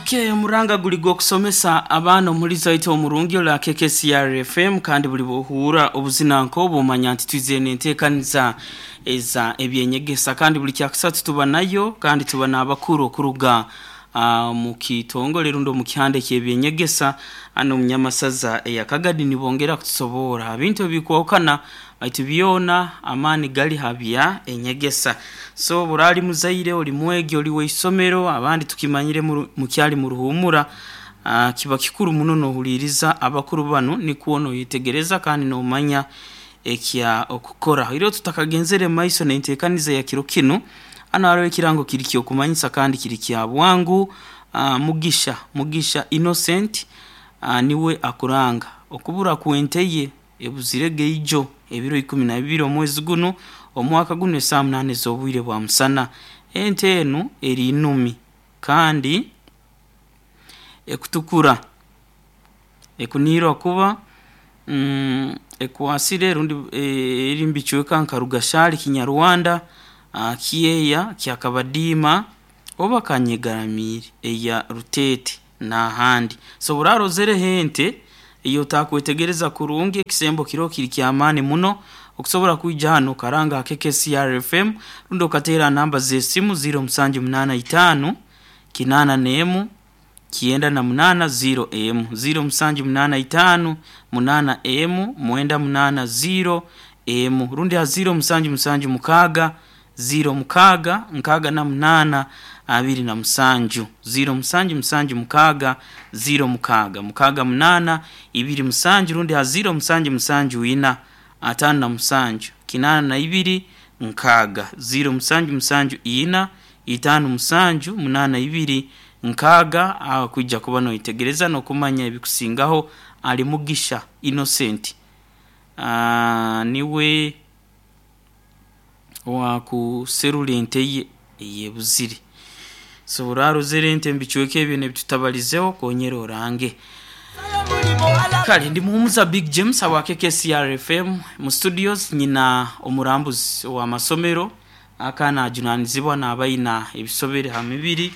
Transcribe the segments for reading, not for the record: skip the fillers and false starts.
Okay, omuranga guli gw'okusomesa abaana omulizi waitu omurungi ora KKCR FM, kandi buli bwohuura obuzina nk'obu omanya nti twizire n'enteekaniza eza ebyenyegesa, kandi buli kyakusatu tuba nayo, kandi tuba n'abakuru okuruga omu kitongole rundi omu kihanda eky'ebyenyegesa hanu omu Nyamasaza eya Kagadi, nibongera kutusoboora ha bintu ebikwahukana, baitu byona amaani gali ha bya enyegesa. So obu oraali muzaire, oli mwegi, oli w'eisomero, abandi tukimanyire mukyali mu ruhuumura, kiba kikuru muno n'ohuliiriza abakuru banu nikwo noyetegereza kandi n'omanya ekya okukora. Oihireho tutakagenzere mu maiso n'enteekaniza ya kiro kinu, hanu haroho ekirango kiri ky'okumanyisa kandi kiri kya bwangu. Mugisha, Mugisha Innocent niwe akuranga okubura kw'ente ye ebuzirege ijo ebiro 12 omwezi gunu omwaka gunu esaaha munaana ez'obwire bwa musana. Ente enu eri numi kandi ekutukura, ekuniirwa kuba ekwasire rundi eri omu bicweka nka Rugashari, Kinyarwanda, Kyeya, Kyakabadiima oba Kanyegaramiire eya Ruteete n'ahandi. So obu oraarozereho ente ei otaakwetegereza kurungi, ekisembo kiroho kiri ky'amaani muno okusobora kwija hanu okaranga ha KKCR FM rundi okateera ha namba z'esimu 0785 81 98 0 emu, 0785 8 emu 98 0 emu, rundi ha 0776 06 68 27, 0776 06 68 27, rundi ha 0774 57 82 6, 0774 57 82 6, aho kwija kuba noyetegereza n'okumanya ebikusingaho. Ali Mugisha Innocent niwe owakuserura ente ye eyebuzire. So orarozere ente omu bicweka ebyo n'ebitutabalizeho, konyera orange. Kale ndi Muhumuza Big James habwa KKCR FM mu studios, nyina omurambuzi ow'amasomero aka najunanizibwa naaba aina ebisobere ha mibiri,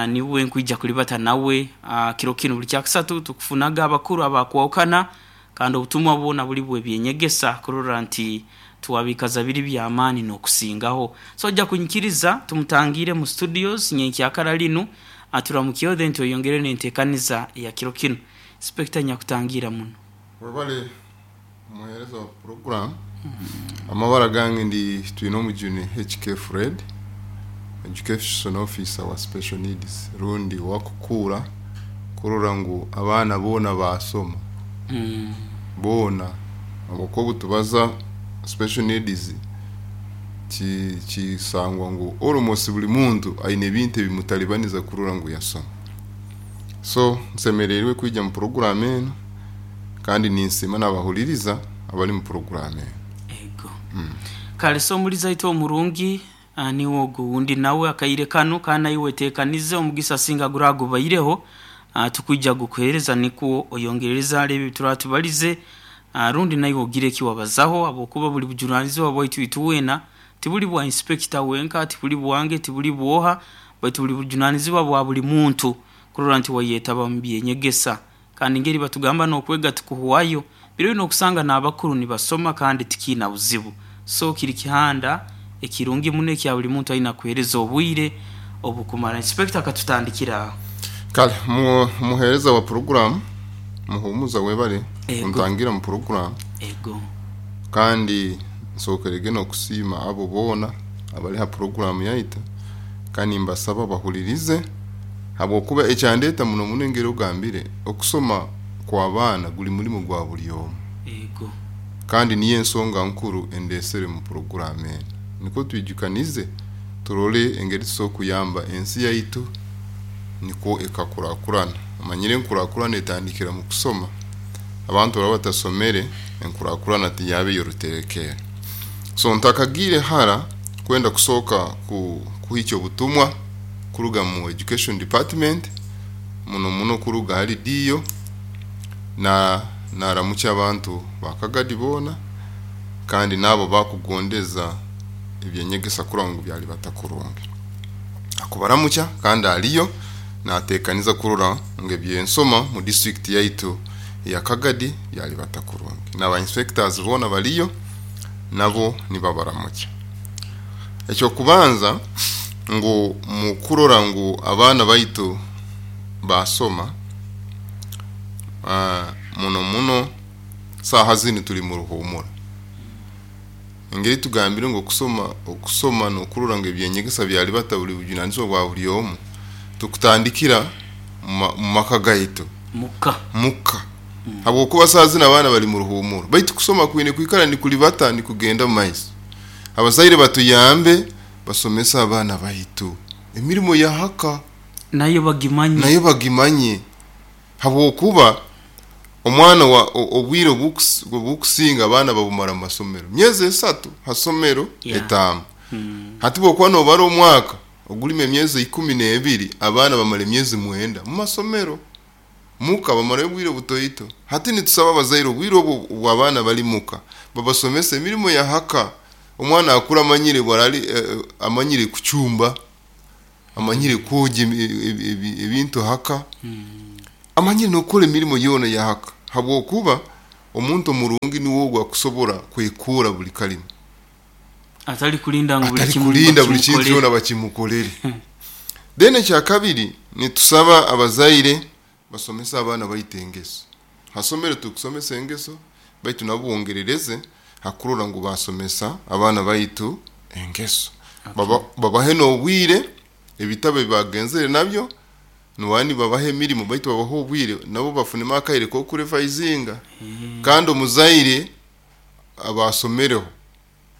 niwe nkwija kulibata nawe kiro kinu. Buli kyakusatu tukufunaga abakuru abakwahukana kandi obutumwa bwona buli bw'ebyenyegesa kurora nti twabikaza biri by'amaani n'okusingaho. So oja kunyikiriza tumutangiire mu studios nyenkyakara linu aturamukyeho then tweyongere n'enteekaniza ya kiro kinu. Inspector nyakutangiira muno. Webale omuheereza wa puroguramu. Amabara gange ndi Twinomujuni HK Fred, Education Officer wa Special Needs rundi owakukuura kurora ngu abaana boona baasoma. Boona habwokuba obu tubaza Special Needs kisangwa ngu almost buli muntu aine ebintu ebimutalibaniza kurora ngu yasoma. So nsemereirwe kwija mu puroguramu enu kandi ninsiima n'abahuliriza abali mu puroguramu enu. Ego. Kale so omulizi aitwe omurungi niwe ogu owundi nawe akaire kanu, kandi naiwe wetekanize omugisa singa guraba gubaireho, tukwija gukuhereza nikwo oyongerereze hali ebi ebituraba tubalize, rundi naiwe ogire eki wabazaho, habwokuba buli bujunanizibwa bwaitu itwena, tibuli bwa inspector wenka, tibuli bwange, tibuli bwoha, baitu buli bujunanizibwa bwa buli muntu kurora nti wayetaba omu byenyegesa. Kandi ngeri batugamba n'okwega tikuhwayo, biro binu okusanga n'abakuru nibasoma kandi tikiina buzibu. So kiri kihanda ekirungi muno ekya buli muntu aina kuheereza obwire obukumara. Inspector katutandikire aho. Kale omuheereza wa puroguramu Muhumuza webale kuntangira mu puroguramu. Ego. Kandi nsookerege n'okusiima abo boona abali ha puroguramu yaitu kandi nimbasaba bahulirize habwokuba ekyandeeta muno muno engeri ogambire okusoma kw'abaana guli mulimo gwa buli omu. Ego. Kandi niyo ensonga nkuru endeesere mu puroguramu enu. Nikwo twijukanize turole engeri tusobora kuyamba ensi yaitu nikwo ekakurakurana. Omanyire enkurakurana etandikira mu kusoma. Abantu obu baraba batasomere, enkurakurana tiyaba ey'oruterekerre. So ntakagiire hara kwenda kusooka kuhikya obutumwa kuruga mu Education Department, muno muno kuruga hali DO, naramukya abantu ba Kagadi boona kandi n'abo abakugondeza eby'enyegesa kurora ngu byalibata kurungi. Akubaramukya kandi aliyo. Natekaniza kurora ngu ebyensoma mu district yaitu ya Kagadi byalibata kurungi. N'aba inspectors boona baliyo nabo nibabaramukya. Ekyokubanza ngu mukurora ngu abaana baitu basoma, muno muno saaha zinu tuli mu ruhumura. Engeri tugambire ngu okusoma n'okurora ngu ebyenyegesa byalibata buli bujunanizibwa bwa buli omu, tukutandikira mu maka gaitu. Muka. Muka. Habwokuba saaha zinu abaana bali mu ruhumuro, baitu kusoma kwine kwikara nikulibata nikugenda mu maiso. Abazaire batuyambe basomese abaana baitu emirimo ya haka. Nayo bagimanye. Nayo bagimanye. Habwokuba omwana wa obwire obukusinga abaana babumara mu masomero. Myezi 3 ha somero etaano. Hati bwokuba nobara omwaka ogulima emyezi 12, abaana bamara emyezi 9 mu masomero. Muka bamarayo obwire butoito. Hati nitusaba abazaire obwire obwo obw'abaana bali muka babasomese emirimo ya haka. Omwana akura amanyire bwarali amanyire kucumba, amanyire kwogya ebintu haka, amanyire n'okukora emirimo yoona ya haka. Habwokuba omuntu omurungi niwe ogwo akusobora kwekura buli kalimo. Atali kulinda ngu buli Atali kimu kulinda buli kintu bakimukolere. kyona bakimukolere. Then ekyakabiri nitusaba abazaire basomese abaana baitu engeso. Hasomero tukusomesa engeso, baitu nabo bongerereze hakurora ngu basomesa abaana baitu engeso. Babahe n'obwire, ebitabo ebibagenzere nabyo, niwani babahe emirimo baitu babahe obwire nabo bafunemu akaire k'okurevisinga. Kandi omuzaire abasomereho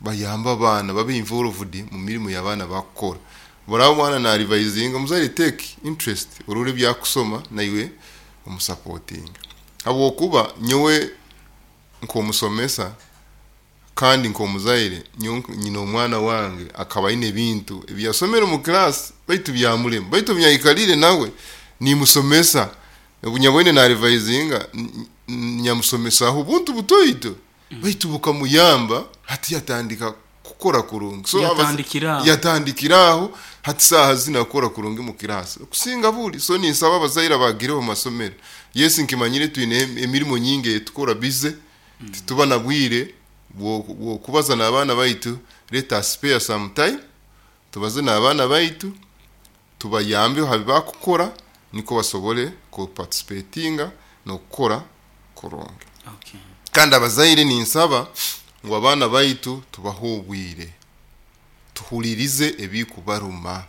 bayamba abaana babe involved mu mirimo y'abaana bakukora. Baraba omwana narevisinga, omuzaire take interest orore ebyakusoma naiwe omusupportinga. Habwokuba nyowe nk'omusomesa kandi nk'omuzaire, nyowe nyina omwana wange akaba aine ebintu ebiyasomere omu class baitu byamulema, baitu obu nyayikarire nawe nimusomesa, obu nyaboine narevisinga nyamusomesaho obuntu butoito baitu bukamuyamba hati yatandika kukora kurungi. So Yatandikira aho. Yatandikira aho, hati saaha zinu akora kurungi mu class okusinga buli. So ninsaba abazaire abagireho mu masomero, yes nkimanyire twine emirimo nyingi etukora busy, tituba na bwire bwokubaza n'abaana baitu. Let us spare some time tubaze n'abaana baitu, tubayambe ha bibakukora niko basobole kuparticipatinga n'okukora kurungi. Kandi abazaire ninsaba ngu abaana baitu tubahe obwire, tuhulirize ebikubaruma,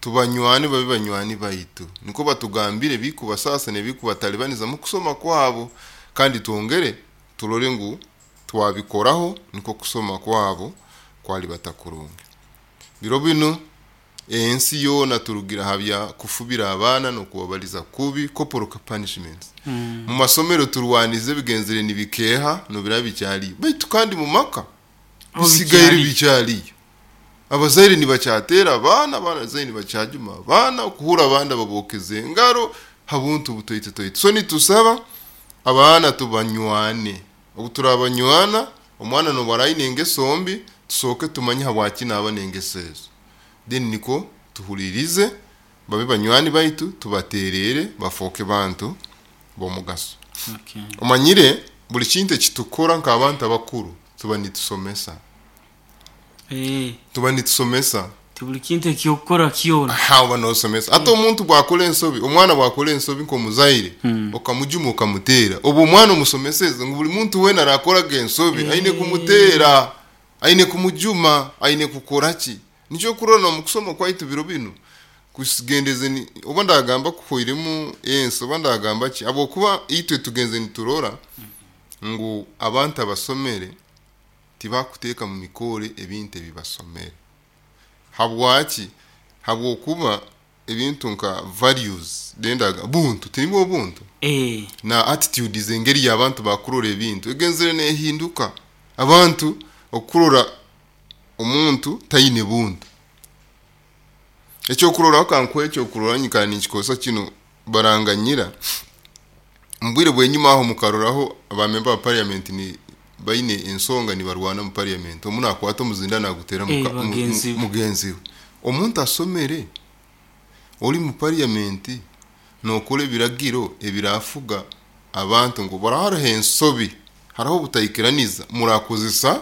tubanywane babe banywani baitu, niko batugambire ebikubasasa n'ebikubatalibaniza mu kusoma kwabo, kandi twongere turore ngu twabikoraho niko kusoma kwabo kwalibata kurungi. Biro binu ensi yoona turugira ha bya kufubira abaana n'okubabaliza kubi, corporal punishments. Mu masomero turwanize ebigenzere nibikeha nobiraba bikyaliyo, baitu kandi mu maka bisigaire bikyaliyo. Abazaire nibakyatera abaana, abazaire nibakyajuma abaana, okuhura abandi babokeze engaro habuntu butoito toito. So nitusaba abaana tubanywane. Obu turabanywana, omwana nobu araine engeso mbi, tusooke tumanye habwaki naaba n'engeso ezo. Then niko tuhulirize babe banywani baitu, tubaterere bafooke bantu b'omugaso. Omanyire buli kintu ekitukora nk'abantu abakuru tuba nitusomesa. Tuba nitusomesa. Ti buli kintu ekyokukora kyona. Ha, oba nosomesa. Hati omuntu bwakora ensobi, omwana bwakora ensobi nk'omuzaire, okamujuma okamutera, obu omwana omusomeseze ngu buli muntu weena arakoraga ensobi aine kumutera, aine kumujuma, aine kukora ki. Nikyo okurora omu kusoma kwaitu biro binu kusigendeze ni, oba ndagamba kuhoiremu ensi, oba ndagamba ki, habwokuba itwe tugenze niturora ngu abantu abasomere tibakuteeka mu mikore ebintu ebibasomere. Habwaki? Habwokuba ebintu nka values, dendaga buntu, tinibwo buntu na attitudes, engeri y'abantu bakurora ebintu egenzere nehinduka. Abantu okurora omuntu taine buntu. Ekyokuroraho kankuhe ekyokuroraho, nyikara ninkikozesa kinu baranganyira. Mu bwire bw'enyuma aho mukaroraho abamemba ba parliament ni baine ensonga nibarwana mu parliament, omu nakwata omuzinda nagutera Bagenzi be. mugenzi we. Omuntu asomere. Oli mu parliament nokora ebiragiro ebirafuga abantu ngu bara hariho ensobi, hariho obutaikiraniza, murakozesa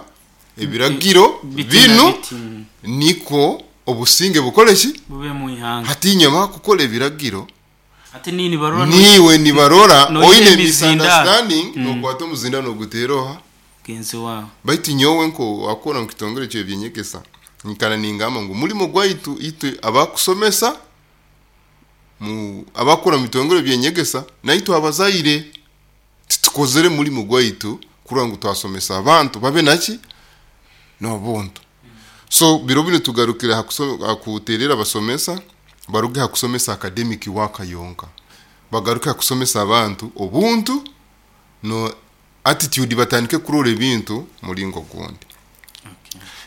ebiragiro Biti na binu biti. Niko obusinge bukole ki? Bube mu ihanga. Hati inywe abakukora ebiragiro Ate niiwe nibarora niiwe nibarora noyiha oine emizindaaro. misunderstanding, nokwata omuzinda noguteera oha? Mugenzi waawe. Baitu nyowe nko wakora mu kitongore ky'ebyenyegesa nyikara ningamba ngu mulimo gwaitu itwe abakusomesa mu abakora mu bitongore byenyegesa naitwe abazaire titukozere mulimo gwaitu kurora ngu twasomesa abantu babe naki n'obuntu. So biro binu tugarukire hakuterera abasomesa baruge hakusomesa academic work yonka, bagaruke hakusomesa abantu obuntu no attitude, batandike kurora ebintu mulingo gundi.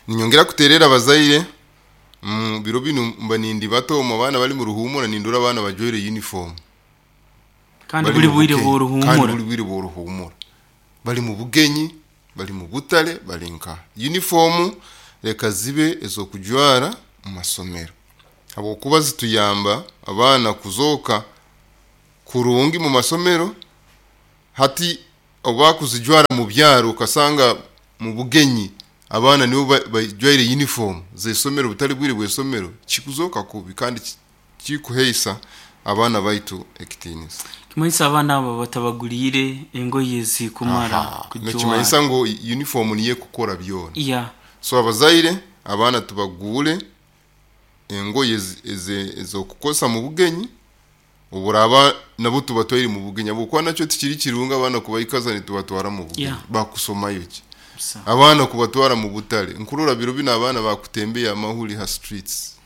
Ninyongera kuterera abazaire mu biro binu mba nindi bato omu abaana bali mu ruhumura, nindora abaana bajwaire uniform kandi bali buli mu bwire bugenyi. bw'oruhumura. Kandi buli bwire bw'oruhumura bali mu bugenyi, bali mu butale, bali nka uniform reka zibe ez'okujwara mu masomero, habwokuba zituyamba abaana kuzooka kurungi mu masomero. Hati oba kuzijwara mu byaro ukasanga mu bugenyi abaana nibo bajwaire uniform z'esomero butali bwire bw'esomero, kikuzoka kubi kandi kikuheisa abaana baitu ekitiinisa. Kimanyisa abaana abo batabaguriire engoye ezikumara kujwara. Nekimanyisa ngu uniform niyo ekukora byona. So abazaire abaana tubaguure engoye ez'okukozesa mu bugenyi, oburaba nabo tubatwaire mu bugenyi, habwokuba nakyo tikiri kirungi abaana kubaikaza nitubatwara mu bugenyi. Bakusomayo ki? Abaana kubatwara mu butale, nkurora biro bino abaana bakutembeya amahuri ha streets.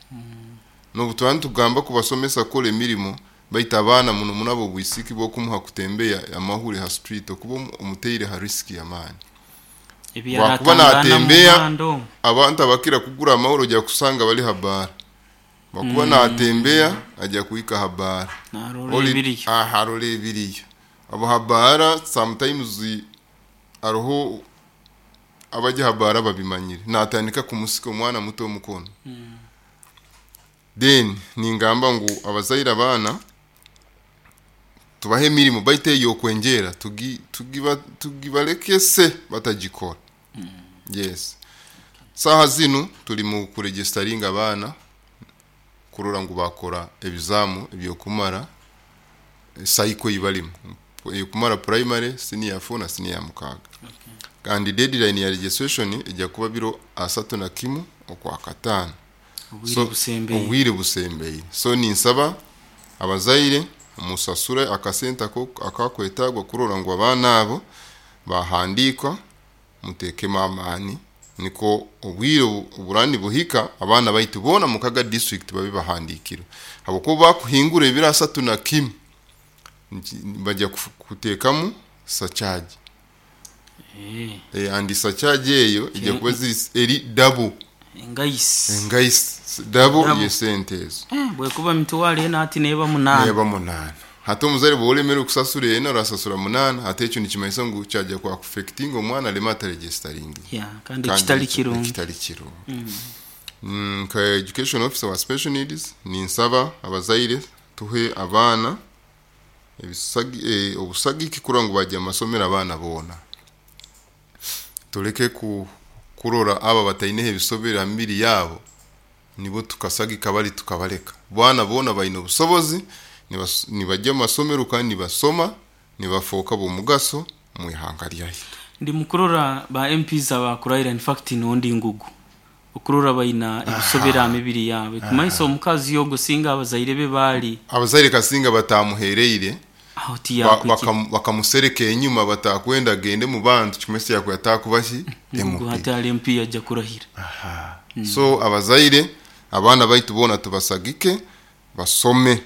N'obu tugamba kubasomesa kukora emirimo, baitu abaana muno muno abo obwisiki bw'okumuha kutembeya amahuri ha street okuba omuteire ha risk y'amaani. Ebi Wakuba yaratangaana mu natembeya, muhanda omwo. Abantu abakira kugura amahuri ojja kusanga bali ha baara. Bakuba natembeya ajja kuhika ha baara. Narora Oli- ebiriyo. Aha, arora ebiriyo. Abo ha baara sometimes hariho abajya ha baara babimanyire. Natandika kumusika omwana muto omukono. Then ningamba ngu abazaire abaana tubahe emirimo baitu ey'okwengera tugibalekese batagikora. Yes. Saha zinu turi mu kuregisteringa abaana kurora ngu bakora ebizamu ebyokumara cycle eyibalimu eyokumara primary, senior 4 na senior 6. Kandi deadline ya registration ejya kuba biro 31 okwa kataano. Obwire So, busembeye. obwire busembeye. So ninsaba abazaire musasure akasente ako akakwetagwa kurora ngu abaana abo bahandikwa, mutekemu amaani niko obwire oburani buhika abaana baitu boona Mukaga district babe bahandikirwe, habwokuba bakuhingura ebiro 31 bajya kuteekamu surcharge. And surcharge eyo ijya kuba ziri eri double. Engaisi. Engaisi double Double. yesente ezo. Bwekuba mitwaro ena hati neeba 8. Neba 8. Hati omuzaire bw'olemerwe kusasura ena orasasura 8, hati ekyo nikimanyisa ngu kyajya kwa affecting omwana aleme ataregisteringi. Kandi kitali kirungi. Kitali kirungi. Nka education officer wa special needs ninsaba abazaire tuhe abaana obusagiki kurora ngu bajya mu masomero abaana boona. Tuleke kurora aba bataineho ebisobero ha mibiri yabo nibo tukasagika bali tukabaleka. Bwana boona baine obusobozi, nibajya mu masomero kandi nibasoma, nibafoka b'omugaso mu ihanga ryaitu. Ndi mukurora ba MPs abakuraira, in fact nondi ngugu okurora baina ebisobero ha mibiri yabo. Kumanyisa omukazi yogo singa abazaire be bali abazaire kasinga batamuhereire aho tiyakwiki. Bakamusereka enyuma batakwenda agende mu bantu, kimesi yakwe atakuba ki Ngugu MP. hati ali MP ajja kurahira. So abazaire abaana baitu boona tubasagike basome,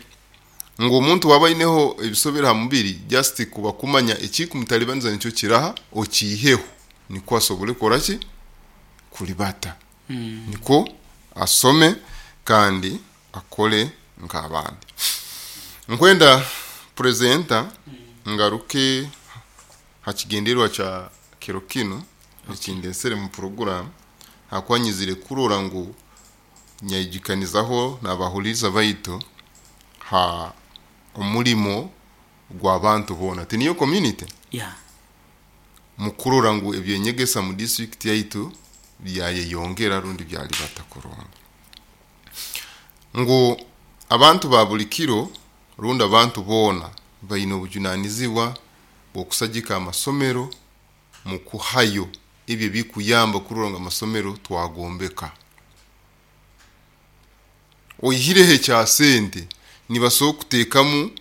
ngu omuntu waba aineho ebisobero ha mubiri just kuba kumanya ekikumutalibaniza nikyo kiraha okiiheho niko asobole kukora ki kulibata. Niko asome kandi akole nk'abandi. Nkwenda presenter ngaruke hakigendererwa kya kiro kino ekindesere mu program, hakwanyizire kurora ngu nyayijikanizaho n'abahuriza baitu Ha omulimo gw'abantu boona, tiniyo community? Yeah. Mukurora ngu ebyenyegesa mu district yaitu byayeyongera rundi byalibata kurungi, ngu abantu ba buli kiro rundi abantu boona baine obujunanizibwa bw'okusagika amasomero mu kuhayo ebyo ebikuyamba kurora ngu amasomero twagombeka. Oihireho ekya sente, nibasobola kuteekamu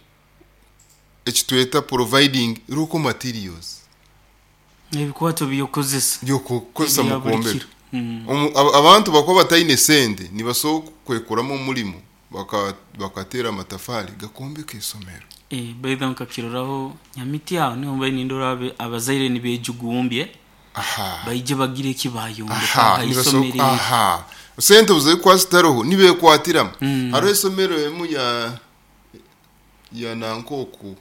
ekitweta providing local materials. Ebikwato by'okukozesa. By'okukozesa Ebya mu buli kwombeka. kiro. Abantu bakuba bataine sente, nibasobola kwekoramu omulimo, bakateera amatafari gakombeka isomero. Baitha nkakiroraho Nyamiti aho niho mbaire nindora abazaire nibejugumbye baije bagire eki bayombeka Aha, ha nibasobola isomero eri. Aha, sente obu zitaroho nibekwatiramu. Hariho esomero emu ya Nankoku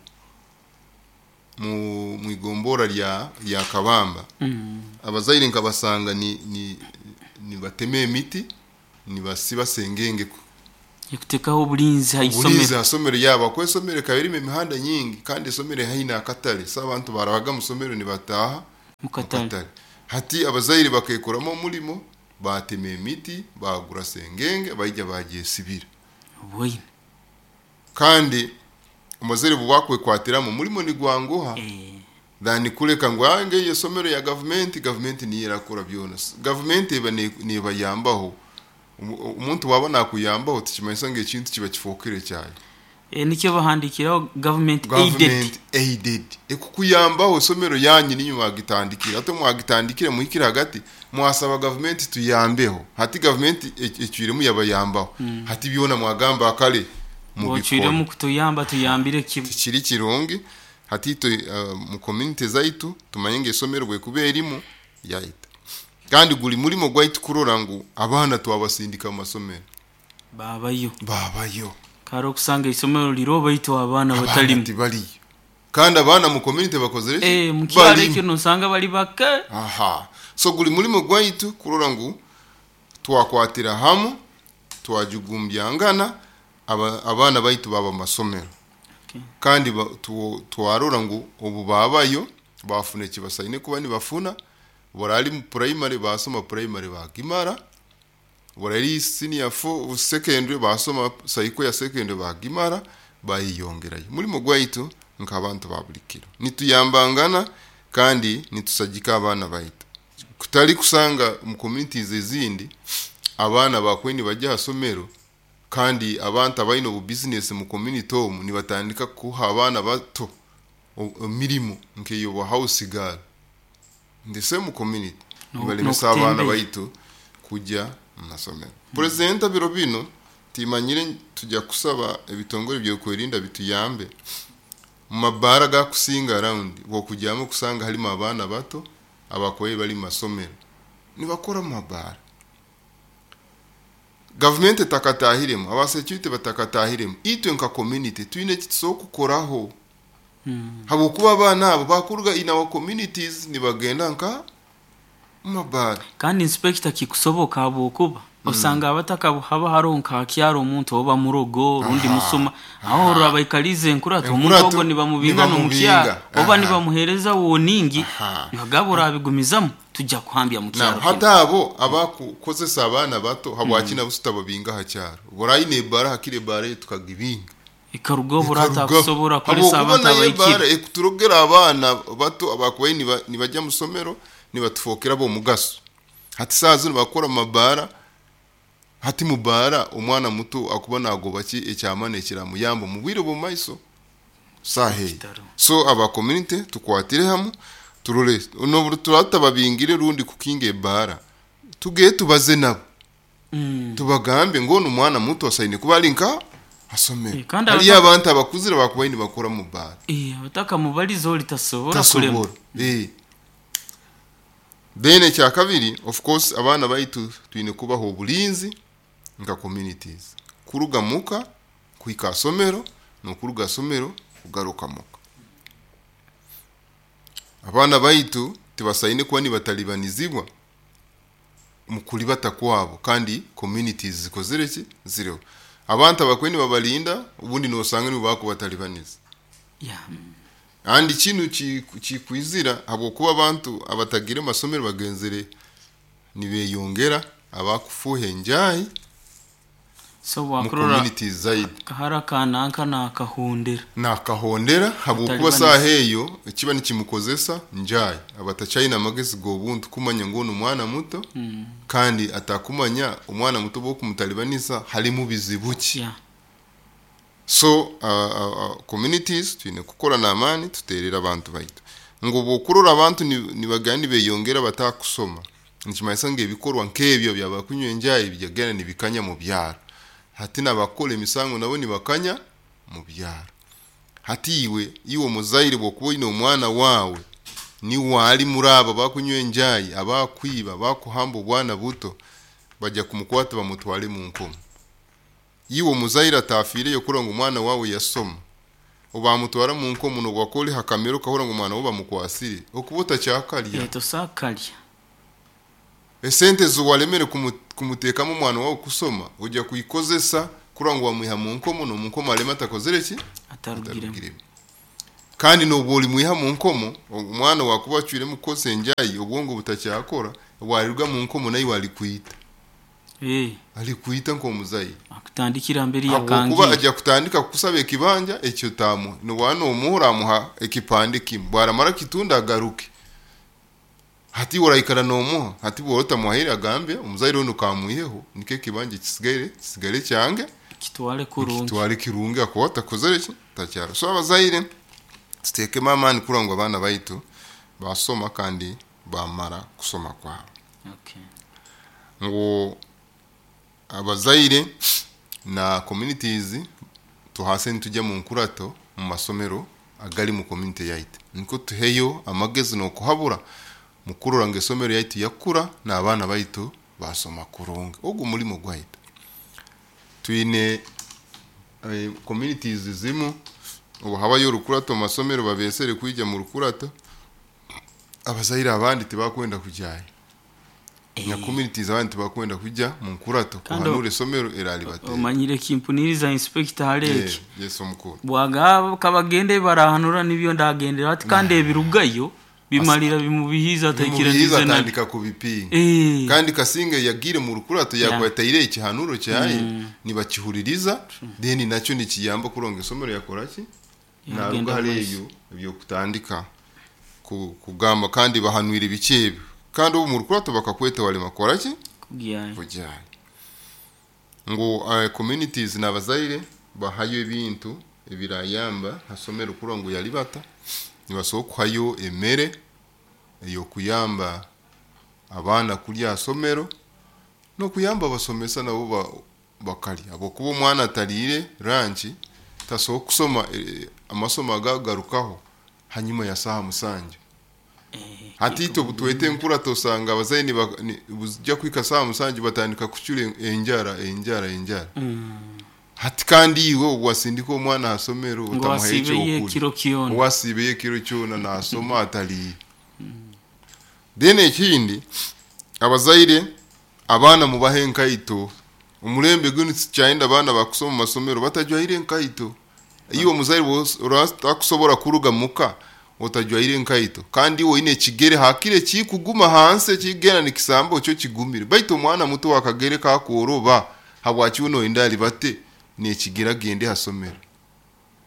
mu mwigombora lya Kabamba. Abazaire nkabasanga ni nibatema emiti, nibasiba sengenge ekutekaho obulinzi ha obulinzi isomero. Ha somero yabo, kuba esomero ekaba erimu emihanda nyingi kandi esomero haihi n'akatale, so abantu barabaga mu somero nibataaha mukatale. Mukatale. Hati abazaire bakekoramu omulimo, batema emiti, bagura sengenge, baija bagyesibira. Obwoine. Kandi omuzaire bwakwekwatiramu omulimo nigwanguha than kuleka ngu ange eyo esomero ya gavumenti, gavumenti niyo erakora byona. Gavumenti eba nebayambaho. Omuntu waba nakuyambaho tikimanyisa ngu ekintu kiba kifookere kyayo. Nikyo bahandikiraho government aided. Government aided ekukuyambaho. Esomero yanyu ninyo mwagitandikira, ate mwagitandikire muhikire hagati mwasaba gavumenti tuyambeho. Hati gavumenti ecwiremu yabayambaho, hati byona mwagamba akale mubikore. Bocwiremu kutuyamba, tuyambire kimu. Tikiri kirungi. Hati itwe mu community zaitu tumanye ngu esomero bwekuba erimu yaita, kandi guli mulimo gwaitu kurora ngu abaana twabasindika mu masomero. Babayo. Babayo. Kare okusanga isomero liro baitu abaana abaana batalimu. Tibaliyo, kandi abaana mu community bakozere ki? Mukyalo Balimu. ekyo nosanga bali bake. Aha, so guli mulimo gwaitu kurora ngu twakwatira hamu, twajugumbyangana, abaana baitu baba mu masomero. Kandi twarora ngu obu babayo bafuna ekibasaine kuba nibafuna. Borali mu primary basoma primary bagimara, borali senior four secondary basoma cycle ya secondary bagimara, bayiyongerayo. Mulimo gwaitu nk'abantu ba buli kiro nituyambangana kandi nitusagika abaana baitu, kutali kusanga mu communities ezindi abaana bakwe nibajya ha somero, kandi abantu abaine obu business mu community omu nibatandika kuha abaana bato emirimo nk'eyo house girl ndetse mu community nibalemesa abaana n'okutembeya. baitu kujya mu masomero. Purezidenti biro bino timanyire, tujya kusaba ebitongole byokwerinda bituyambe. Mu mabaara gakusinga around bwokujyamu kusanga harimo abaana bato abakoye bari mu masomero nibakora mu mabaara. Gavumenti etakatahiremu, aba security batakatahiremu, itwe nka community twine eki tusobola kukoraho, habwokuba abaana abo bakuruga in our communities nibagenda nka mu mabaara. Kandi inspector, kikusoboka habwokuba osanga abataka haba hariho nka kyaro omuntu oba murogo rundi musuma, aho orora baikalize enkurato omuntu Enkurato, ogwo nibamubinga nibamubinga. n'omukyaro oba nibamuhereza woningi, nibagaba orabigumizamu tujja kuhambya mu na kyaro hati kinu. Abo abakukozesa abaana bato, habwaki nabo tutababinga ha kyaro? Borayine ebara, hakiri ebara ye tukagibinga. Ekaruga oburata Ekarugaho. kusobora kukolesa Habwokuba abantu nayo abaikire. ebara ekuturogera abaana bato abakubaye nibajya mu somero nibatufokera bomugaso. Hati saa zino bakora mu mabara. Hati mubara omwana muto akuba nagoba ki ekyamani ekiramuyamba mu bwire bw'omumaiso saheyi. Kitaro. So aba community tukwatire hamu, turole nobu turatababingire rundi kukinga ebara, tugeye tubaze nabo, tubagambe ngo ono omwana muto asaine kuba ari nka asomero. Kandi hariyo abantu abakuzire bakubaye nibakora mu bara. Abataka mubalizo litasobora kulema. Tasobora. Then ekya kabiri, of course, abaana baitu twine kubaha obulinzi nka communities, kuruga muka kuhika asomero n'okuruga asomero kugaruka muka. Abaana baitu tibasaine kuba nibatalibanizibwa mu kulibata kwabo, kandi communities zikozere ki? Ziriho. Abantu abakwe nibabalinda obundi nosanga nibo bakubatalibaniza. Yeah. Andi kinu kikwizira habwokuba abantu abatagire masomero bagenzere nibeyongera abakufuha enjayi So mu wakurora community zaidi kahara kananka nakahondera. Nakahondera habwokuba Mutalibaniza. saaha eyo ekiba nikimukozesa njayi abatakyayina amagezi g'obuntu kumanya ngu onu mwana muto kandi atakumanya omwana muto bwokumutalibaniza halimu bizibu ki. Yeah. So communities twine kukora n'amaani tuterera abantu baitu ngu bwokurora abantu nibagenda nibeyongera batakusoma, nikimanyisa ngu ebikorwa nk'ebyo byabakunywa enjayi byagenda nibikanya mu byaro. Hati nabakora emisango nabo nibakanya mu byaro. Hati iwe omuzaire bwokuba oyine omwana waawe niwe ali muri abo bakunywa enjayi, abakwiba, bakuhamba obwana buto, bajya kumukwata bamutwale mu nkomo. Iwe omuzaire atafiireyo kurora ngu omwana waawe yasoma, obamutwara mu nkomo nobwakora ha kamera okahurra ngu omwana we bamukwasire, okuba otakyakalya. Tosakalya. Esente ziwaremere kumuteekamu omwana wawe kusoma, ojya kuikozesa kurora ngu wamwiha mu nkomo, n'omu nkomo aleme atakozere ki? Atarugiremu. Atarugiremu. Kandi nobwo olimwiha mu nkomo, omwana wakuba acwiremu kukozesa enjayi, obwongo butakyakora, bwaliruga mu nkomo naiwe alikwita. Alikwita nk'omuzaire. Akutandikira mbere Habwokuba yakangiye. ajya kutandika kukusaba ekibanja ekyo tamuha. Nobwa nomuha oramuha ekipande kimwe, bwaramara kitunda agaruke. Hati oraikara nomuha, hati bwora otamuhaire agambe omuzaire onu kamwiheho, nikyo ekibanja kisigare kyange. Kitwale kurungi. Kitwale kirungi akuba atakozere ki? Takyaro. So abazaire tuteekemu amaani kurora ngu abaana baitu basoma kandi bamara kusoma kwabo. Okay. Ngu abazaire na communities tuhase nitujya mu nkurato mu masomero agali mu community yaitu, niko tuheyo amagezi n'okuhabura mukurora ngu esomero yaitu yakura n'abaana baitu basoma kurungi. Ogu mulimo gwaitu. Twine communities zimu obu habayo orukurato mu masomero babesere kwija mu rukurato, abazaire abandi tibakwenda kujayo. Na communities abandi tibakwenda kuja mu nkurato Kandi kuhanura esomero eralibatera. Omanyire kimpuniriza inspector hareki. Yes omukuru. Bwaga kabagende barahanura nibyo ndagendera ati kandi ebirugayo bimalira bimubihiza Bimubihiza atakiraniza na atandika kubipinga. Kandi Kasinga yagire mu rukurato yakwataire ekihanuro kyaye nibakihuririza, then nakyo nikiyamba kuronga esomero yakora ki? Yagenda Naruga hali maiso. ebyo ebyokutandika kugamba kandi bahanwire biki ebyo. Kandi obu mu rukurato bakakweta walema kora ki? Kugiyayo. Kugiyayo. Ngu communities n'abazaire bahayo ebintu ebirayamba hasomero kurora ngu yalibata, nibasobola kuhayo emere ey'okuyamba abaana kulya hasomero n'okuyamba abasomesa nabo bakalya. Habwokuba omwana ataliire ranchi tasobola kusoma amasomo agagarukaho hanyuma ya saaha 7. Hati itwe obutwete enkurato osanga abazaire bujya kuhika saaha 7 batandika kucura enjara, enjara, enjara. Hati kandi iwe obwasindika omwana hasomero Ngo otamuha wasiibeye ekyokurya. ekiro kyona. Wasiibeye ekiro kyona nasoma ataliire. Then ekindi abazaire abaana mubahe enkaito. Omulembe gunu tikyayenda abaana bakusoma mu masomero batajwaire enkaito. Iwe omuzaire otakusobora kuruga muka otajwaire enkaito, kandi iwe oyine ekigere hakire kikuguma hansi ekigenda nikisamba okyo kigumire. Baitu omwana muto wakagere kakworoba habwaki we noyenda alibate n'ekigere agende hasomero.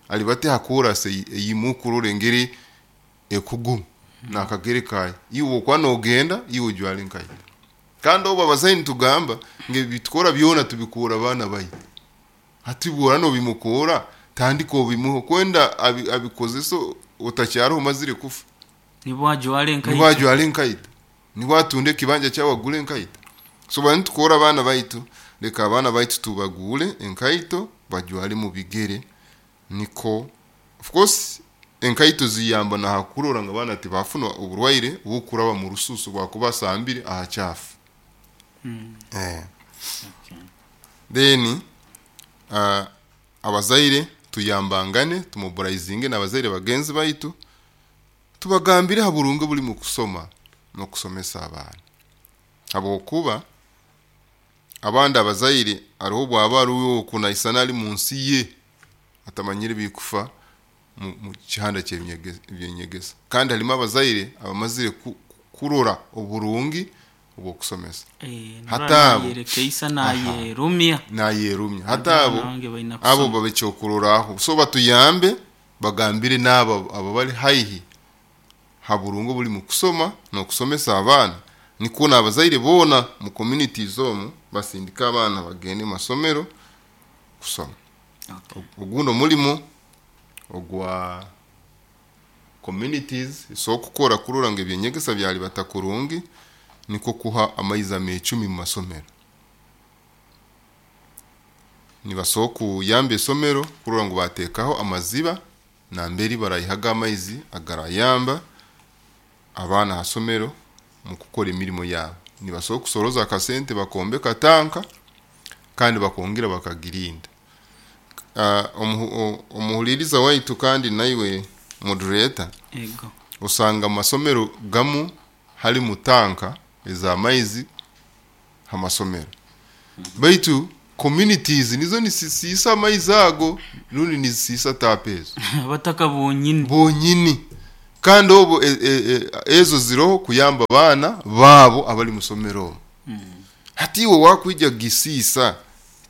Alibate hakorase eyimukurora engeri ekuguma nakagere kaye. Iwe okwa nogenda iwe ojware enkaito. Kandi obu abazaire nitugamba ngu ebitukora byona tubikura abaana baitu. Hati bwora nobimukora tandika obimuha kwenda abikozesa otakyariho omazire kufa. Nibwo ajware enkaito. Nibwo ajware enkaito. Nibwo atunde ekibanja kyawe agure enkaito. So bari nitukora abaana baitu, reka abaana baitu tubagure enkaito bajware mu bigere, niko of course enkaito ziyamba na hakurora ngu abaana tibafuna oburwaire obukuraba mu rususu bwakuba asambire aha kyafu. Then abazaire tuyambangane, tumobilizinge n'abazaire bagenzi baitu, tubagambire ha burungi buri mu kusoma n'okusomesa abaana. Habwokuba Abandi abazaire hariho obwaba ari oku naisana ari mu nsi ye atamanyire ebikufa mu kihanda ky'ebyenyegesa. Kandi harimu abazaire abamazire kurora oburungi obw'okusomesa. Hati abo Nayerekeisa nayerumya. Nayerumya. Hati abo Nange baina abo kusoma. Babe ekyokurorraho, so batuyambe bagambire n'abo abo bali haihi ha burungi obuli mu kusoma n'okusomesa abaana, nikwo n'abazaire boona mu communities omu basindike abaana bagende mu masomero kusoma. Ogundi omulimo ogwa communities so kukora kurora ngu ebyenyegesa byalibata kurungi nikwo kuha amaizi ameecumi mu masomero. Nibasobola kuyamba esomero kurora ngu bateekaho amaziba nambere baraihaga amaizi agarayamba abaana ha somero mu kukora emirimo yabo. Nibasobola kusoroza akasente bakombeka tanka kandi bakongera bakagirinda. Omuhuliriza waitu kandi naiwe moderator, Ego. Osanga mu masomero gamu harimu tanka ez'amaizi ha masomero, baitu communities nizo nizisiisa amaizi ago rundi nizisiisa taapu ezo. Abataka bonyini. Bonyini. Kandi obu ezo ziroho kuyamba abaana baabo abali mu somero omu. Hati iwe wakwija kugisiisa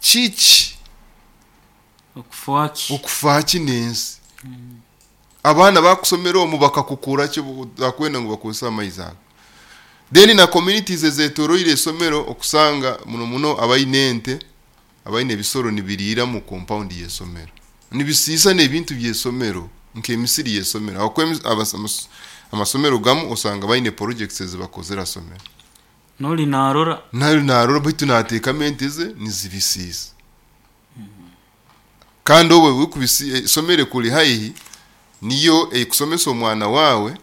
kiki? Okufa ki? Okufa ki n'ensi? Abaana bakusomera omu bakakukura ki otakwenda ngu bakozese amaizi ago? Then na communities ezetoroire esomero, okusanga muno muno abaine ente, abaine ebisoro nibiriira mu compound y'esomero, nibisiisa n'ebintu by'esomero nk'emisiri y'esomero, ahabwokuba amasomero gamu osanga baine projects ezibakozere ha somero. Noli narora. Nali narora, baitu nateekamu ente ze nizibisiisa. Kandi obu esomero ekuli haihi niyo ekusomesa omwana waawe,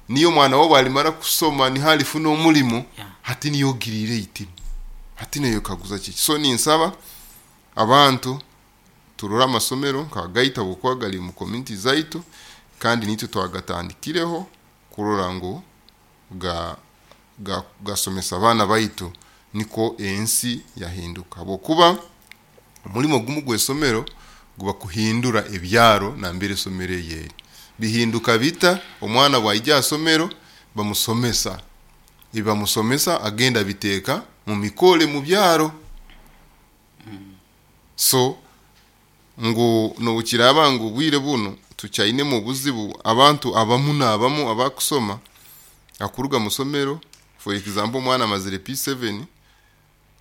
niyo omwana waawe alimara kusoma niho alifuna omulimo. Hati niyo ogiriire eitima, hati noyekaguza kiki? So ninsaba abantu turore amasomero nk'agaitu habwokuba gari mu community zaitu, kandi nitwe twagatandikireho kurora ngu gasomesa abaana baitu, nikwo ensi yahinduka, habwokuba omulimo gumu gw'esomero guba kuhindura ebyaro nambere esomero eyo eri. Bihinduka bita? Omwana bwaija ha somero bamusomesa, ebi bamusomesa agenda abiteeka mu mikore mu byaro. So ngu nobukiraaba ngu obwire bunu tukyainemu obuzibu, abantu abamu n'abamu abakusoma akuruga mu somero, for example omwana amazire P7,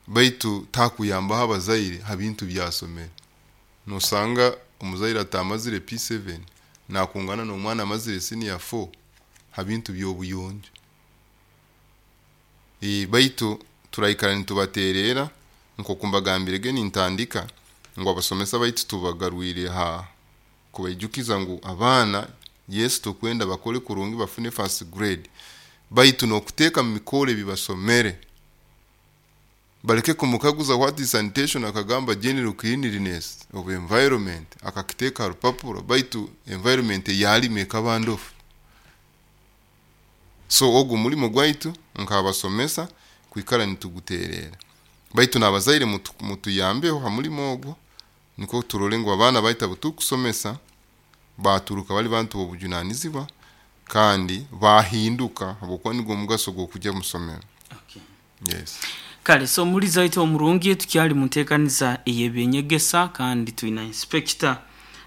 baitu takuyambaho abazaire ha bintu byasomere. Nosanga omuzaire atamazire P7 nakungana n'omwana amazire senior 4 ha bintu by'obuyonjo. Baitu turaikara nitubateerera nk'oku mbagambirege nintandika ngu abasomesa baitu tubagarwire ha kubaijukiza ngu abaana, yes, tukwenda bakole kurungi bafune first grade, baitu n'okuteeka mu mikoro ebi basomere, baleke kumukaguza what is sanitation akagamba general cleanliness of environment, akakiteeka ha rupapuro, baitu environment eyalimu ekaba ndofu. So ogu omulimo gwaitu nk'abasomesa kwikara nituguteerera, baitu n'abazaire mutuyambeho ha mulimo ogwo, nikwo turole ngu abaana baitu abu tukusomesa baturuka bali bantu b'obujunanizibwa kandi bahinduka, habwokuba nigwo omugaso gw'okujya mu somero. Yes. Kale, so omulizi waitu omurungi, tukyali mu nteekaniza ey'ebyenyegesa, kandi twina inspector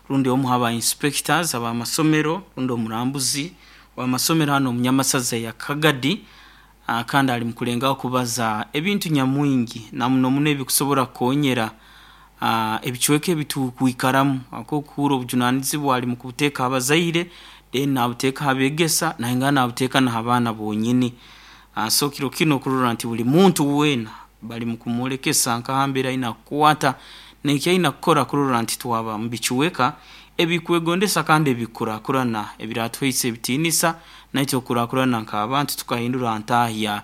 rundi omu haba inspectors ab'amasomero rundi omurambuzi w'amasomero hano omu Nyamasaza ya Kagadi. Kandi ali mukulengaho kubaza ebintu nyamwingi na muno muno ebikusobora kukonyera ebicweka ebitukwikaramu, akokuhurra obujunanizibwa ali mukubuteeka abazaire, then nabuteeka ha beegesa, nayongera nabuteeka na ha baana bonyini. So kiro kinu okurora nti buli muntu weena bali mukumwolekesa nkahambere aina kukwata neki aina kukora kurora nti twaba mu bicweka ebikwegondesa kandi ebikukurakurana ebiratuhaisa ebitiinisa naitwe okukurakurana nk'abantu tukahindura ntahya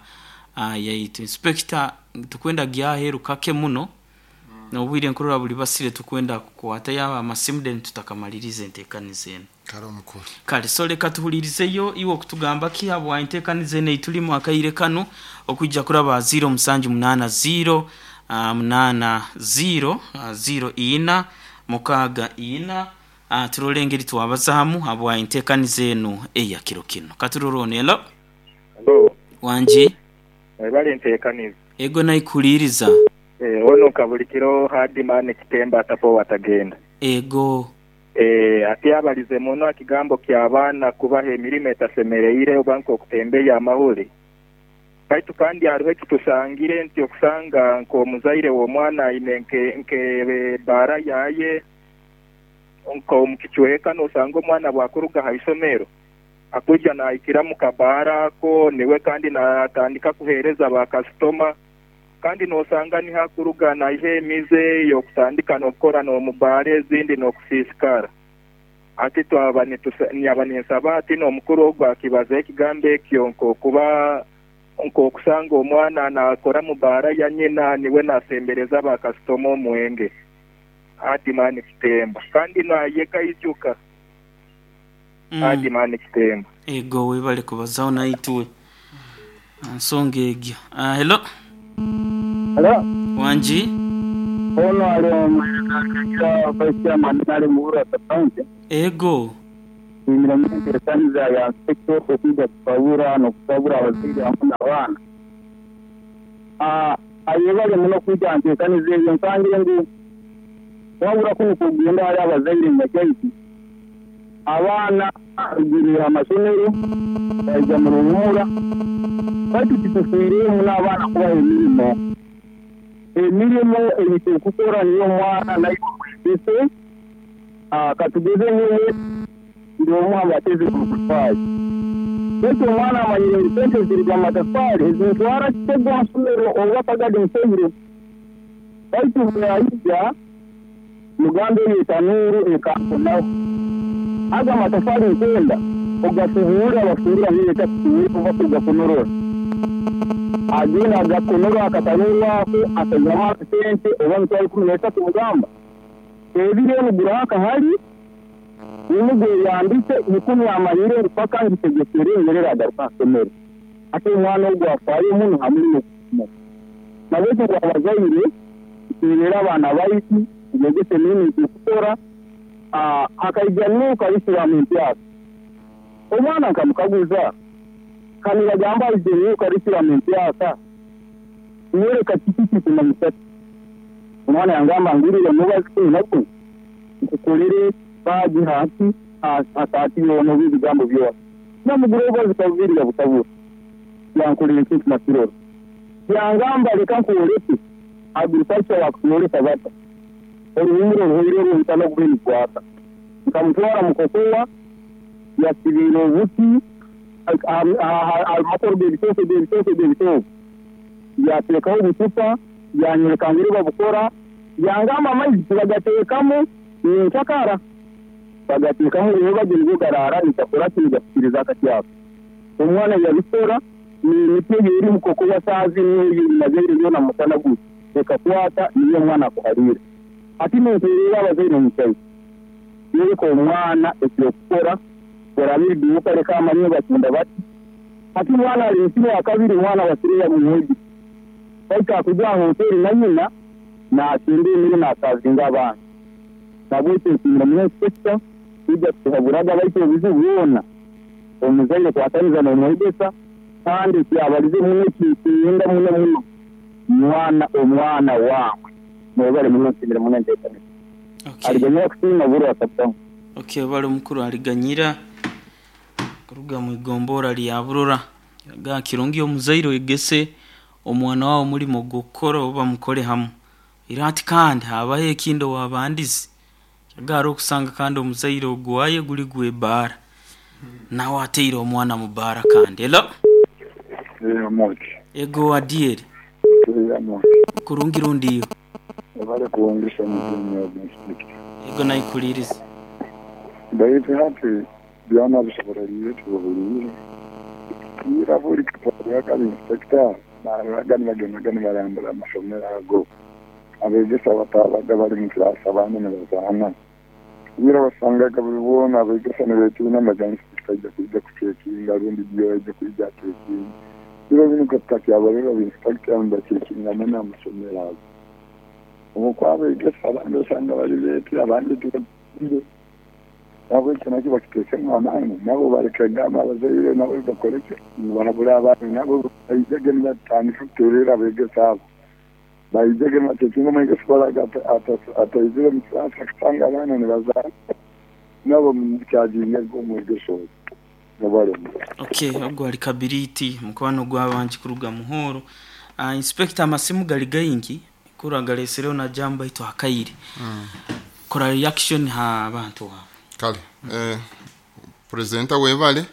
yaitu. Inspector, tukwenda gyaheru kake muno n'obwire nkurora buli basire, tukwenda kukwatayo amasimu then tutakamaliriza enteekaniza enu. Kale omukuru. Kale, so leka tuhulirizeyo iwe okutugamba ki habwa enteekaniza enu eitulimu akaire kanu, okwija kuraba 0780 8 0 0 4 6 4 turole engeri twabazaamu habwa enteekaniza enu eya kiro kinu. Katurore ono. Hello. Hello. Wangi. Webale nteekaniza. Ego naikuliiriza. Ono Kabulikiro Hadi Man Kitemba atapowa atagenda. Ego. Ati abalize muno aha kigambo kya baana kubaha emirimo etasemereire oba nk'okutembeya amahuri. Baitu kandi hariho ekitusangire nti okusanga nk'omuzaire w'omwana aine nk'ebaara yaye nk'omu kicweka n'osanga omwana bwakuruga ha isomero akwija nahikira mu kabaara ako niwe kandi natandika kuheereza ba kasitoma kandi n'osanga niho akuruga naiha emize y'okutandika n'okukora n'omu baara ezindi n'okusiisikara. Hati twaba nyaba ninsaba ati n'omukuru ogu akibazeho ekigambo ekyo nk'okuba nk'okusanga omwana nakora mu baara ya nyina niwe nasembereza ba kasitoma omwenge. Adi Man Kitemba. Kandi nayega ijuka. Adi Man Kitemba. Ego webale kubazaho naitwe. Nsonga egyo. Hello. Hello. Wangi. Ono ali omwebembezi Vice Chairman ali mu Buhuru County. Ego. Nsiimire muno enteekaniza ya Inspector okwija kutabura n'okutabura abazaire hamu n'abaana. Ayebale muno kwija aha nteekaniza eyo nsangire ngu wabura kunu kugenda hali abazaire nyakyaitu abaana barugire aha masomero baija mu ruhumura baitu titufiireyo muno abaana kubaha emirimo. Emirimo ei turikukora niyo omwana naiwe omwegese katugeze nyowe ndi omwe aha bateezi b'amatafaari baitu omwana amanyire ngu sente ziruga omu matafaari ezintwara Kitego aha isomero oba Kagadi nseire baitu bwaija mugambe eyo etanuuru ekankonaho ago amatafaari nkwenda ogasubuura basubuura nileta kusubuura oba kugakonorora agenda agakonorora akatanuuru ako akaihamu akasente oba 130,000 mugamba ebiro enu guraho akahari nimugweyambise 10 amanyire ngu paka ngitegesere nyerere agaruka aha isomero ate omwana ogu afaayo muno ha murimo okusoma. Nabwekyo ngu abazaire tuterere abaana baitu tubegese emirimo ei turikukora hakaija new curriculum empyaka. Omwana nkamukaguza kanibagamba haizire new curriculum empyaka nyoreka kiki kikumanyisa ki? Omwana yangamba ngurire omubazi 11 nkukorere baagi hansi hasaati yoona oba ebigambo byona. Namugura obubazi kabubiri yabutabura yankorera ekintu nakirora. Yangamba leka nkwoleke agriculture wakuyoreka bata oruhumuro oruhoire oruhutana okuba nigwaka. Nkamutwara mukokowa yasibiire obuti amakoro g'ebitooke g'ebitooke g'ebitooke yateekaho obucupa yanyereka ngeri babukora yangamba amaizi tibagateekamu ninshakara bagateekamu rero nibwo garaara nigakora ki nigasikiriza akati ako. Omwana yabikora n'emiti eyo eri mukokowa saaha niyo nazaire yoona musana guti ekakwata niyo omwana akuhariira. Hati ninteerera abazaire omu kyaitu yoreka omwana eky'okukora oraba eriduuka leka amanye batunda bati hati omwana areesire akabiri omwana basireya mumwegi baitu akuja aha hoteeri na nyina naatunda emere naasavinga abaana. Nabwekyo nsiimire muno inspector kwija kutuhaburaga baitu obuzibu bwona omuzaire kwataniza n'omwegesa kandi kyabalize muno ekinkirinda muno muno mwana omwana waawe mwebale muno nsiimire muno enteekaniza. Aliganyira kusiima Burwa Sub-County. Okay, bali omukuru aliganyira kuruga mu igombora lya Burora. Ga kirungi omuzaire oyegese omwana wawe omurimo gw'okukora oba mukore hamu. Era ati kandi habaho ekindi owabandize kyagara okusanga kandi omuzaire ogwaye guri gw'ebaara nawe ateire omwana mu baara kandi. Hello. Moki. Ego Adieri. Moki. Kurungi rundiyo. Ebale kuwongesha mutumya inspector. Ego naikuliriza. Baitu hati byona bisoboreriire tubuhuriire. Ira buri kitwara inspector baaraga nibagendaga nibarambura amasomero ago. Abegesa batabaga bari mu kirasi abandi nibazaana. Ira wasangaga buri boona abegesa nibeetiina amaga inspector aija kwija kucekinga rundi DO aija kwija acekinga. Biro binu katakyabarora inspector nibacekinga muno amasomero ago. Obwokuba abandi osanga bali leeti, abandi tibatiire. Nahabwekyo nakyo bakiteekemu amaani, nabo baleke gamba abazaire nabo bakole ki, bahabule abaana nabo baijege nibatandika kuteererra abeegesa abo. Baijege nibacekinga omwegesa obu araaga ataizire omu kiraasi akasanga abaana nibazaana, nabo bamukyajinge omwegesa ogu mwebale muno. Okay, ogu ali Kabiriti mukwano gw'abangi kuruga Muhoro. Inspector, amasimu gali gaingi kura galesereho na jambo baitu akaire. Kora reaction ha bantu abo. Kale presenter, webale,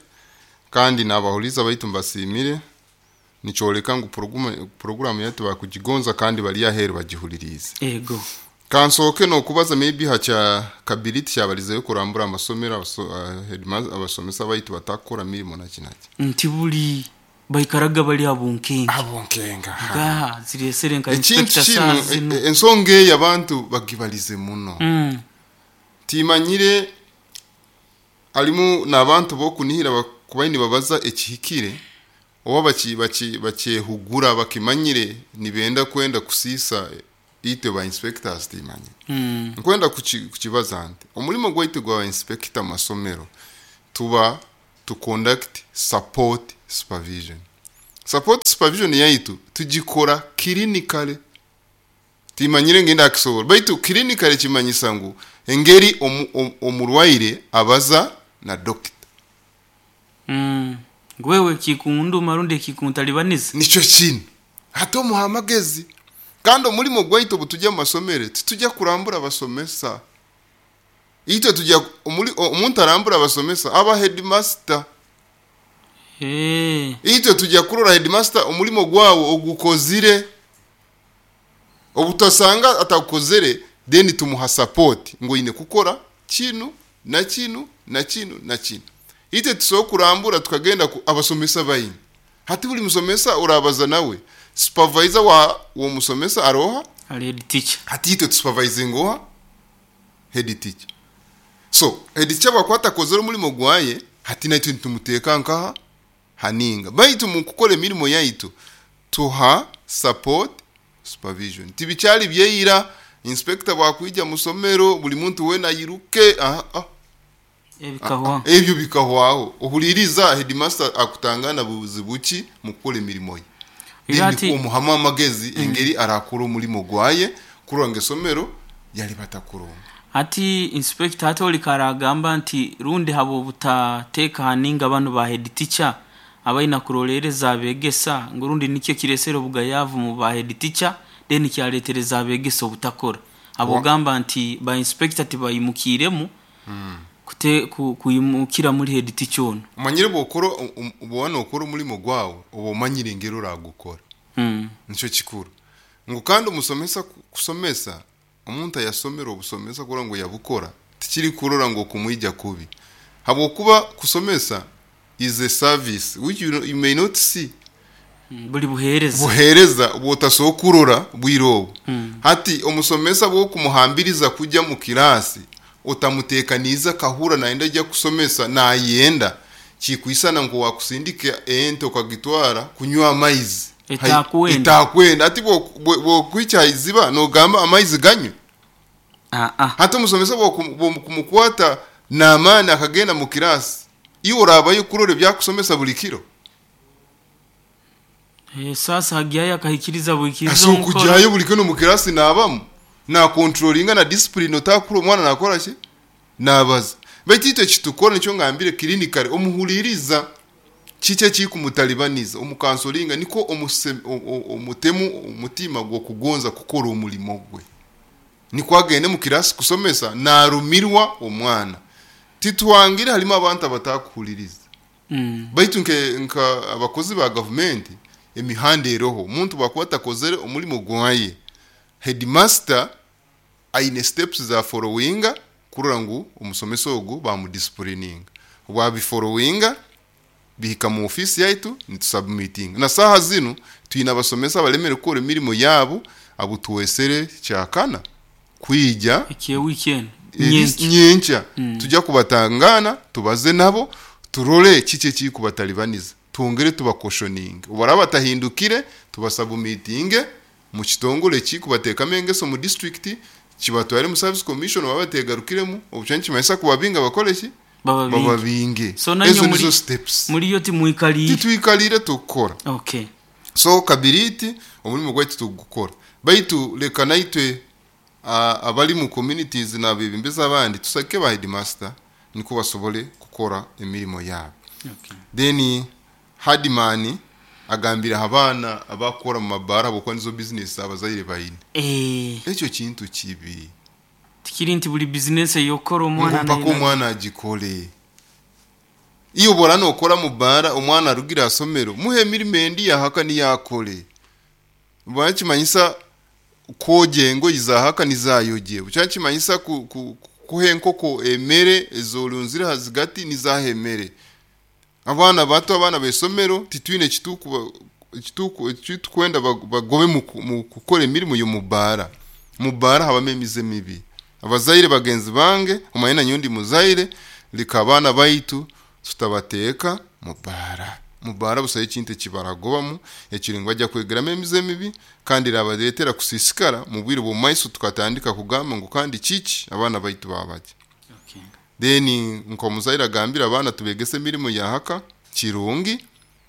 kandi nabahuliza baitu mbasiimire. Nikyoleka ngu programu yaitu bakugigonza kandi bali aheeru bagihuliriize. Ego. Kansooke n'okubaza maybe ha kya Kabiriti kyabalizeyo kurambura amasomero, abasomesa baitu batakukora mirimo naki naki. Nti buli baikaraga bali abunkenke. Abunkenga. Ga ziresere nka ekintu inspector kinu saa zino. Ensonga eyo abantu bagibalize muno. Timanyire harimu n'abantu b'okunihira kuba nibabaza ekihikire oba bakyehugura bakimanyire nibenda kwenda kusiisa itwe ba inspectors, timanyire. Nkwenda kukibaza nti omulimo gwaitu gwa inspector mu masomero tuba to conduct support supervision. Support supervision yaitu tugikora clinically. Timanyire ngenda akisobora, baitu clinically kimanyisa ngu engeri omurwaire abaza na dokita. Gwewe kikunduma rundi kikuntalibaniza. Nikyo kinu hati omuha amagezi. Kandi omulimo gwaitu obu tujya mu masomero titujya kurambura abasomesa. Itwe tujya omuntu arambura abasomesa aba headmaster. Itwe tujya kurora headmaster omulimo gwawe ogukozire. Obutasanga atagukozere, then tumuha support ngu oine kukora kinu na kinu na kinu na kinu. Itwe tusobola kurambura tukagenda ku abasomesa baingi. Hati buli musomesa orabaza nawe, supervisor wa w'omusomesa aroha? Ali head teacher. Hati itwe tusupervisinga oha? Head teacher. So head teacher bwakuba atakozere omulimo gwaye, hati naitwe nitumuteeka nkaha haninga. Baitu mu kukora emirimo yaitu tuha support supervision. Tibikyali byeira inspector bwakwija musomero buli muntu wena ayiruke. Ebikahwaho. Ebyo bikahwaho. Ohuliriza headmaster akutangana buzibu ki mu kukora emirimo ye. Era ati omuhamu amagezi engeri arakora omulimo gwaye kurora ngu esomero yali batakurunga. Hati inspector, hati oli karagamba nti rundi habo obutateeka haninga banu ba head teacher abaina kurolereza abegesa, ngu rundi nikyo kiresera obugayavu mu ba head teacher, then kyaletereza abegesa obutakora. Abogamba nti ba inspector tibayimukiremu kuyimukira muri head teacher ono. Omanyire bwokora bwoba nokora omulimo gwawe oba omanyire engeri oragukora. Nikyo kikuru. Ngu kandi omusomesa kusomesa, omuntu ayasomera obusomesa kurora ngu yabukora tikiri kurora ngu okumwija kubi. Habwokuba kusomesa is a service which you may not see. Buli buheereza. Buheereza bwotasobola kurora bwire obu. Hati omusomesa bwokumuhambiriza kujya mu kirasi otamutekaniize akahura nayenda ajya kusomesa nayenda, kikwisana ngu wakusindika ente okagitwara kunywa amaizi. Etakwenda. Etakwenda. Ati bwokwikya haiziba nogamba amaizi ganywe. Hati omusomesa bwokumukwata n'amaani akagenda mu kirasi, iwe orabayo kurora ebyakusomesa buli kiro. Sasa hagyayo akahikiriza bwikiriza Ase omukoro. okujyayo buli kiro mu kirasi nabamu na controllinga na discipline otakura omwana nakora ki nabaza. Baitu itwe ekitukora nikyo ngambire clinically omuhuliriza kiki ekikumutalibaniza omukansolinga niko omutemu omutima gw'okugonza kukora omulimo gwe. Niko agende mu kirasi kusomesa narumirwa omwana. Titwangire harimu abantu abatakuhuliriza. Baitu nka abakozi ba gavumenti emihanda eroho omuntu bwakuba atakozere omulimo gwaye, headmaster aine steps za followinga kurora ngu omusomesa ogu bamudisciplininga. Bwabifollowinga bihika mu ofisi yaitu nitusubmitinga. Na saha zinu twine abasomesa abalemere kukora emirimo yabo abo tuwesere kyakana kwija Ekiye weekend. Nyenkya. Nyenkya. Tujya kubatangana tubaze nabo turole kiki ekikubatalibaniza, twongere tubakoshoninge. Obaraba batahindukire tubasubmitinge mu kitongole ekikubateekamu engeso mu district kibatware mu service commission baba bategarukiremu obu nikimanyisa kubabinga bakore ki? Bababinge. Bababinge. So nanywe Ezo muri nizo steps. Muriyo timwikaliire. Titwikaliire tukukora. Okay. So kabiriti omurimo gwaitu tugukora. Baitu leka naitwe abali mu communities n'abebembezi abandi tusake ba headmaster niko basobole kukora emirimo yabo. Okay. Then Hardman agambira abaana abakora mu mabara habwokuba nizo business abazaire baine. Ekyo kintu kibi. Tikiri nti buli business eyokora omwana Ngu mpaka omwana agikore. Iyo bora nokora mu bara omwana arugira asomero muhe emirimo endi yahaka niyakore. Bakimanyisa kwoja engoyi zahaka nizayoje. Kyakimanyisa kuha enkoko emere ezorunzire hazigati nizaha emere. Abaana bato abaana b'esomero titwine ekitukwenda bagobe mu kukora emirimo y'omu bara. Mu bara habamu emize mibi. Abazaire bagenzi bange omanye nanyowe ndi muzaire leka abaana baitu tutabateeka mu bara. Mu bara busaho ekintu ekibaragobamu ekiri ngu bajya kwegeramu emize mibi kandi erabareetera kusiisikara mu bwire bw'omumaiso tukatandika kugamba ngu kandi kiki abaana baitu baabagye. Okay. Then nk'omuzaire agambire abaana tubegese emirimo yahaka kirungi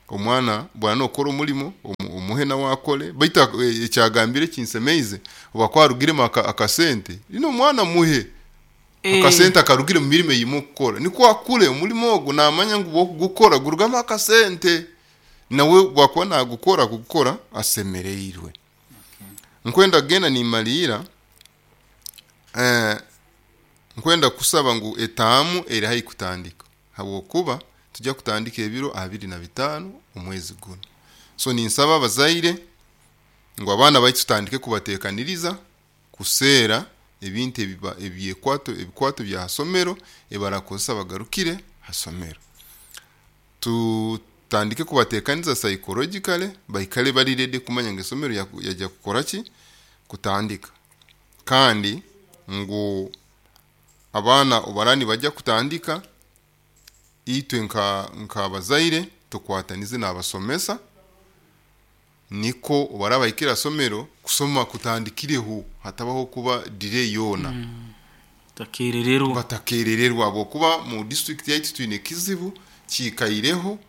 omwana bwana nokora omurimo omuhe nawe akore baitu ekyagambire kinsemeize oba kwarugiremu akasente lino omwana muhe akasente akarugire mu mirimo eyimu okukora nikwo akure omurimo ogu namanya ngu bwokugukora gurugamu akasente nawe bwakuba nagukora kugukora asemereirwe. Nkwenda kugenda nimaliira nkwenda kusaba ngu etaamu eri haihi kutandika habwokuba tujya kutandika ebiro 25 omwezi guno. So ninsaba abazaire ngu abaana baitu tutandike kubateekaniriza kuseera ebintu ebyekwato ebikwato bya hasomero ebarakozesa bagarukire hasomero. Tutandike kubateekaniza psychologically baikale bari ready kumanya ngu esomero yajya kukora ki? Kutandika. Kandi ngu abaana obaraba nibajya kutandika itwe nk'abazaire tukwatanize n'abasomesa niko obaraba bahikire hasomero kusoma kutandikireho hatabaho kuba delay yoona. Batakerererwa. Batakerererwa habwokuba mu district yaitu twine ekizibu kiikaireho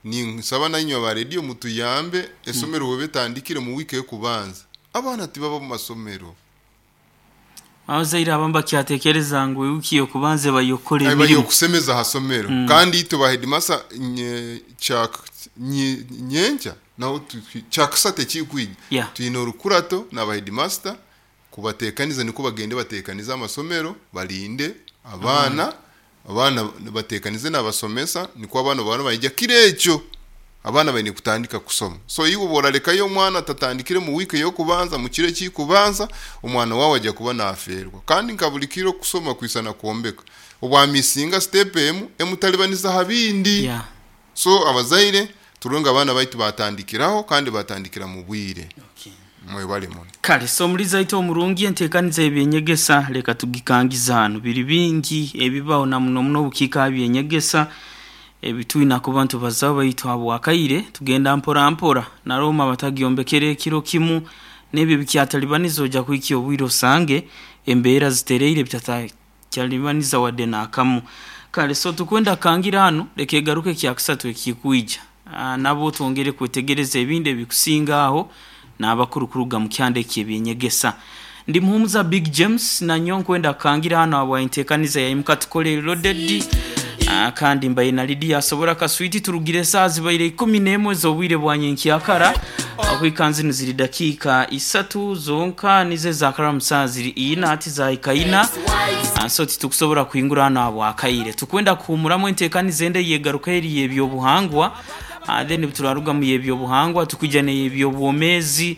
ninsaba nainywe aba radio mutuyambe esomero bweba etandikire mu wiiki ey'okubanza abaana tibaba mu masomero. Abazaire abamu bakyatekereza ngu ewiki y'okubanza eba y'okukora Eba emirimo. y'okusemeza ha somero kandi itwe ba headmaster nyenkya naho kyakasatu ekikwija twine orukurato n'aba headmaster kubateekaniza niko bagende bateekanize amasomero barinde abaana abaana bateekanize n'abasomesa niko abaana baba baija kiro ekyo abaana baine kutandika kusoma. So iwe bworarekayo omwana atatandikire mu wiiki ey'okubanza mu kiro ekikubanza omwana waawe ajya kuba nafeerwa. Kandi nka buli kiro kusoma kwisana kwombeka obwamisinga step emu emutalibaniza ha bindi. So abazaire turunga abaana baitu batandikiraho kandi batandikira mu bwire. Okay. Mwebale muno. Kale so omulizi aitu omurungi enteekaniza ebyenyegesa leka tugikangiza hanu biri bingi ebibaho na muno muno obukiika aha byenyegesa ebitwine kuba nitubazaho baitu habwakaire tugenda mpora mpora na Roma batagyombekere ekiro kimu n'ebyo bikyatalibaniza ojya kuhikya obwire osange embeera zitereire bitatakyalibaniza wadde n'akamu. Kale so tukwenda kangira hanu leka egaruke ekyakusatu ekikwija nabo twongere kwetegereza ebindi ebikusinga aho n'abakuru kuruga mu kyanda eky'ebyenyegesa. Ndi Muhumuza Big James nanyo nkwenda kangira hano habwa enteekaniza yaimuka tukole loaded kandi mbaye na Lydia asobora kaswiti turugire saa zibaire 11 z'obwire bwa nyenkyakara okwikanzi niziri dakika 3 zonka nize zakara musaa ziri ina ati zahika ina so titukusobora kuhingura hano habwakaire tukwenda kuhumuramu enteekaniza ende yegaruka eri y'ebyobuhangwa then turarugamu y'ebyobuhangwa tukwijja n'ebyobwomezi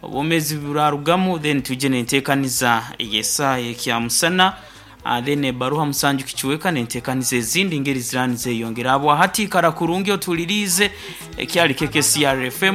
obwomezi burarugamu then tujje n'enteekaniza ey'esaaha ekyamusana then ebaruha musanju kichweka n'enteekaniza ezindi ngeri zirani zeyongera abo hati ikara kurungi otulirize ekyali KKCR FM.